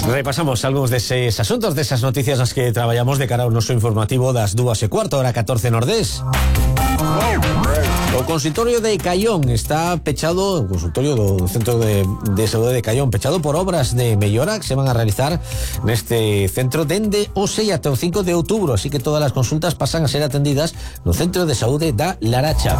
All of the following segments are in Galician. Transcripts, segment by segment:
Repasamos algúns deses asuntos, desas noticias nas que traballamos de cara ao noso informativo das 2:15, hora 14 Nordés. O consultorio de Caión está pechado, o consultorio do Centro de Saúde de Caión, pechado por obras de mellora que se van a realizar neste centro dende o 6 ata o 5 de outubro, así que todas as consultas pasan a ser atendidas no Centro de Saúde da Laracha.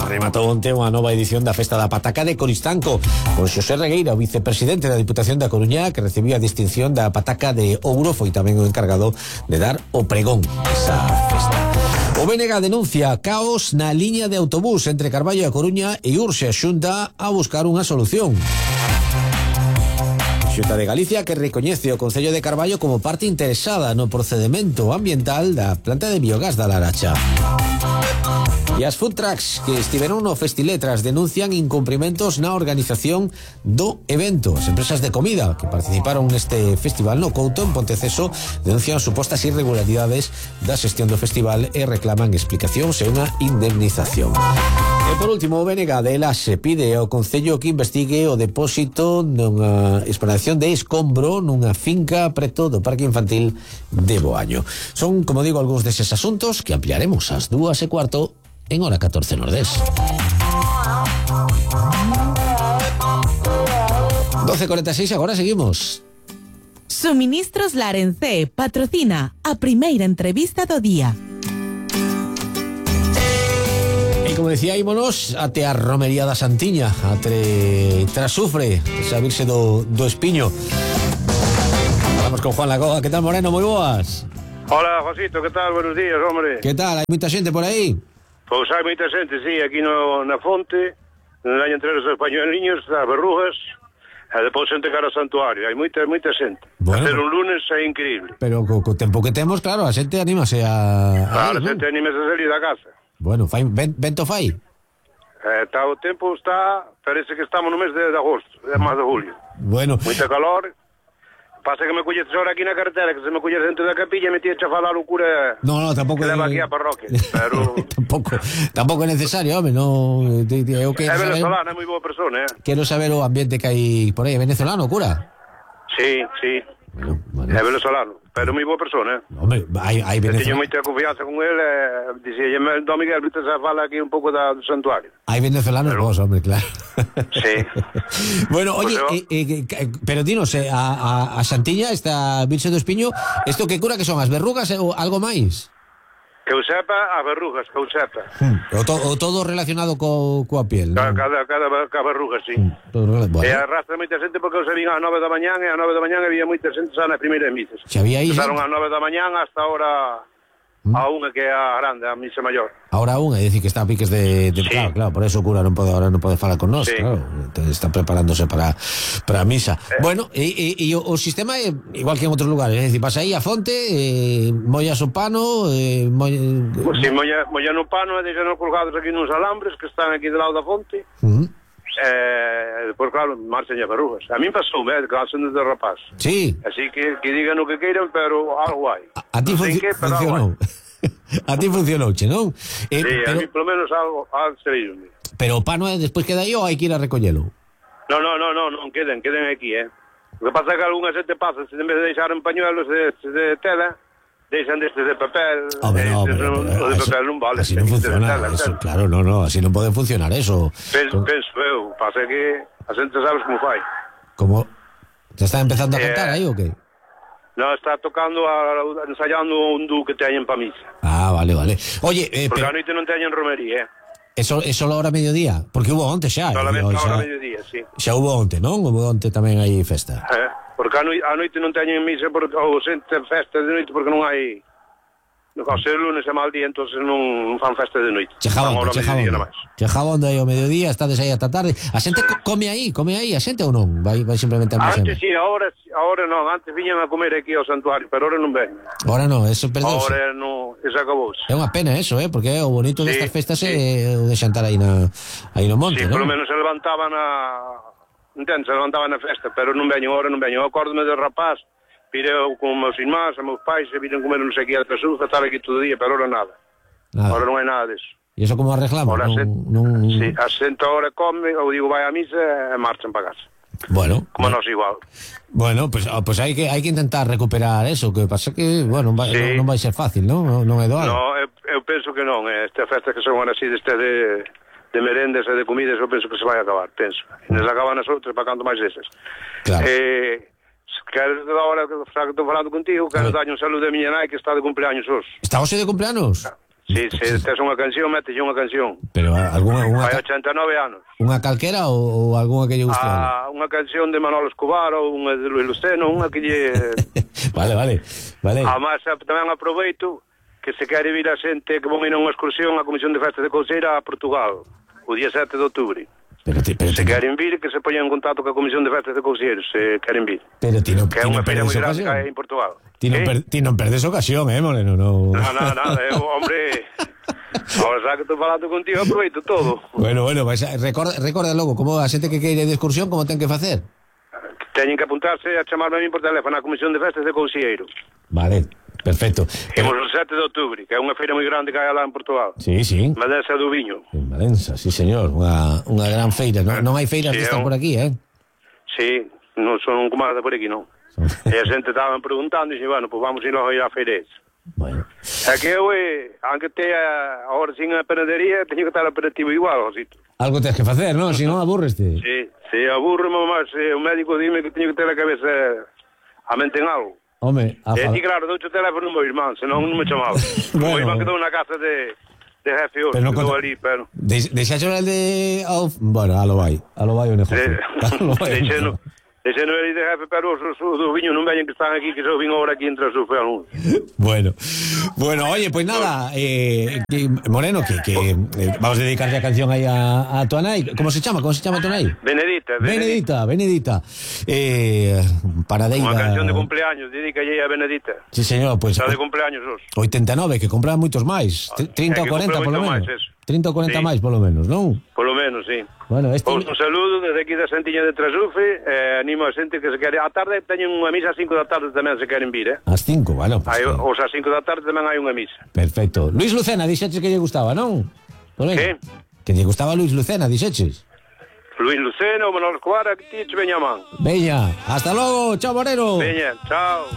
Rematou onte unha nova edición da Festa da Pataca de Coristanco, con Xosé Regueira, o vicepresidente da Diputación da Coruña, que recibiu a distinción da Pataca de Ouro, foi tamén o encargado de dar o pregón esa festa. O BNG denuncia caos na liña de autobús entre Carballo e a Coruña e urxe a Xunta a buscar unha solución. Xunta de Galicia que recoñece o Concello de Carballo como parte interesada no procedemento ambiental da planta de biogás da Laracha. E as food trucks que estiveron no Festiletras denuncian incumprimentos na organización do evento. As empresas de comida que participaron neste festival no Couto, en Ponteceso, denuncian supostas irregularidades da xestión do festival e reclaman explicacións e unha indemnización. E por último, o BNG de Elaxe pide ao Concello que investigue o depósito nunha exploración de escombro nunha finca preto do Parque Infantil de Boaño. Son, como digo, algúns deses asuntos que ampliaremos ás 2:15 en hora 14 Nordés. 12:46, agora seguimos. Suministros Larencé patrocina a primeira entrevista do día. E como decía, ímonos até a romería da Santiña, até Trasufre, esa virxe do Espiño. Vamos con Juan Lagoa. ¿Qué tal, Moreno? Moi boas. Hola, Josito, ¿qué tal? Buenos días, hombre. ¿Qué tal? Hai moita xente por aí? Pois hai moita xente, sí, aquí na fonte, na entre os españoliños, as Berrujas, e depois xente cara ao santuario. Hai moita xente. Bueno, hacer un lunes é increíble. Pero co tempo que temos, claro, a xente anímase a... Claro, a xente anímase a salir da casa. Bueno, vento fai? Está o tempo, parece que estamos no mes de agosto, é máis de julio. Bueno. Moita calor. Pasa que me colleces ahora aquí na carretera, que se me colleces dentro da capilla e me tienes a falar o cura. No, tampouco que leva aquí a parroquia, pero tampouco é necesario, home, no. Eu que é venezolano, é moi boa persona, Quero saber o ambiente que hai por aí, venezolano, cura? Sí. Bueno. É venezolano, pero moi boa persona, Hombre, hai venezolano. Teño moita confianza con ele, dixélleme, Don Miguel, viste a fala aquí un pouco do santuario. Hai venezolanos vos, hombre, claro. Sí. Bueno, oye, pero dinos, a Santiña, esta Virxe do Espiño, isto que cura que son, as verrugas ou algo máis? Que eu sepa, as verrugas, que eu sepa. O todo relacionado coa piel, ¿no? Cada verruga, sí. Bueno. E arrastra moita xente porque eu se vin ás 9 da mañán e ás 9 da mañán había moita xente xa nas primeiras misas. Se había aí Empezaron ás 9 da mañán hasta ahora a unha que é a grande, a misa maior. Ahora é dicir que está a piques de sí. Claro, por eso o cura non pode falar con nós, sí. Claro, está preparándose para a misa. Bueno, e o sistema é igual que en outros lugares, é dicir, vas aí a fonte, mollas o pano, Si mollan o pano e deixan colgados aquí nos alambres que están aquí do lado da fonte. Depois, claro, marchan as verrugas. A mí pasou, que son desde rapaz. Sí. Así que digan o que queiran, pero algo hai. A ti funcionou. A ti funcionou, che, non? Sí, a mí polo menos algo serio. Pero o pano despois queda aí ou hai que ir a recollelo? Non queden aquí, O que pasa é que algunha xente pasa, se en vez de deixar en pañuelos de tela, deixan destes de papel. No, pero de papel non vale. Así non funciona eso, claro, no, así non pode funcionar eso. Penso eu, pasa que a xente sabes como fai. Como? Te está empezando a cantar aí ou que? No, está tocando, ensayando un dúo que teñen pa misa. Ah, vale. Oye, porque a noite non teñen romería, Eso só hora mediodía, porque hubo onte xa. Solamente a hora mediodía, sí. Xa hubo onte, non? Hubo onte tamén aí festa. Porque a noite non teñen misa, ou xente festa de noite porque non hai... Ao ser lunes é mal día, entonces non fan festa de noite. Chejabonde aí ao mediodía, estades aí ata tarde. A xente come aí, a xente ou non? Vai simplemente a misa. Antes sí, ahora non. Antes viñan a comer aquí ao santuario, pero ahora non ven. Ahora non, eso perdeuse. Ahora non, eso acabouse. É unha pena eso, porque o bonito destas festas é o de xantar aí no monte, non? Sí, polo menos se levantaban se levantaban na festa, pero non veño, ahora non veño. Eu acórdome do rapaz, pireu con meus irmáns, a meus pais, e viren comer non sei que a Trasuz, estar aquí todo o día, pero ahora nada. Ahora non hai nada deso. E iso como arreglamos? Sí, a xente ahora come, ou digo vai a misa e marchan para casa. Bueno. Como nós igual. Bueno, pues hai que intentar recuperar eso, que pasa que, bueno, Sí. non vai ser fácil, non? Non é doado. No, eu penso que non. Estas festas que son así de merendes e de comidas, eu penso que se vai acabar, penso. E nos acaban as outras para canto máis deses. Claro. Quero, agora que estou falando contigo, quero darlle un saludo a miña nai que está de cumpleaños hoxe. Está hoxe de cumpleanos? Sí, se tes unha canción, metelle unha canción. Pero algunha Hai 89 anos. unha calquera ou algunha que lle guste? Unha canción de Manolo Escobar ou unha de Luis Luceno, unha que lle... Vale. Además, tamén aproveito que se quere vir a xente que vão ir a unha excursión á Comisión de Festas de Couceira a Portugal, o día 7 de outubro. Se queren vir, que se poñan en contacto ca Comisión de Festas de Couceiro, se queren vir. Pero ti non que é unha feira moi grande ocasión. que hai en Portugal. Ti non perdes ocasión, Moreno, no. Nada, hombre... Ahora xa que estou falando contigo, aproveito todo. Bueno, pues recorda logo, como a xente que queire de excursión, como ten que facer? Teñen que apuntarse a chamarme a mí por teléfono á Comisión de Festas de Couceiro. Vale, perfecto. Imos o 7 de outubro, que é unha feira moi grande que hai lá en Portugal. Sí. Madensa do Viño. En Valença, sí, señor. Unha gran feira. Non hai feiras Sí, destas por aquí, Sí, non son como as de por aquí, non. E a xente estaban preguntando e dixen, bueno, pues vamos ir logo a feira esa. Bueno. É que eu, aunque teña ahora sin a panadería, teño que estar operativo igual, Josito. Algo tens que facer, non? Se non aburreste. Sí, aburro máis, o médico dime que teño que ter a cabeza a mente en algo. Home, E ti, claro, dou o teléfono ao meu irmán, senón non me chamaba. O meu irmán quedou na casa de jefe hoxe, quedou ali, pero... Deixaxo el de... Bueno, a lo vai o negocio. Deixeno el de jefe, pero os do viño non veñen que están aquí, que se vin ahora aquí entre os fealuns. Bueno, oye, pues nada, Moreno, que vamos a dedicarle a canción aí a tu nai. ¿Cómo se chama tu nai? Benedita. Paradeira. Unha canción de cumpleaños, dedícalle a Benedita. Sí, señor, pues... Está de cumpleaños hoxe. 89, que compran moitos máis. 30 ou 40, polo menos. 30 ou 40 máis, polo menos, non? Polo menos, sí. Bueno, un saludo desde aquí da Santiña de Trasufe, animo a xente que se quere. A tarde teñen unha misa ás 5 da tarde tamén se queren vir, Ás 5, bueno. Pues os ás 5 da tarde tamén hai unha misa. Perfecto. Luis Lucena, dixeches que lle gustaba, non? Que? Que lle gustaba Luis Lucena, dixeches. Luis Lucena, o Manolo Escobar, que ti che veña a man. Veña, hasta logo, chao Moreno. Veña, chao.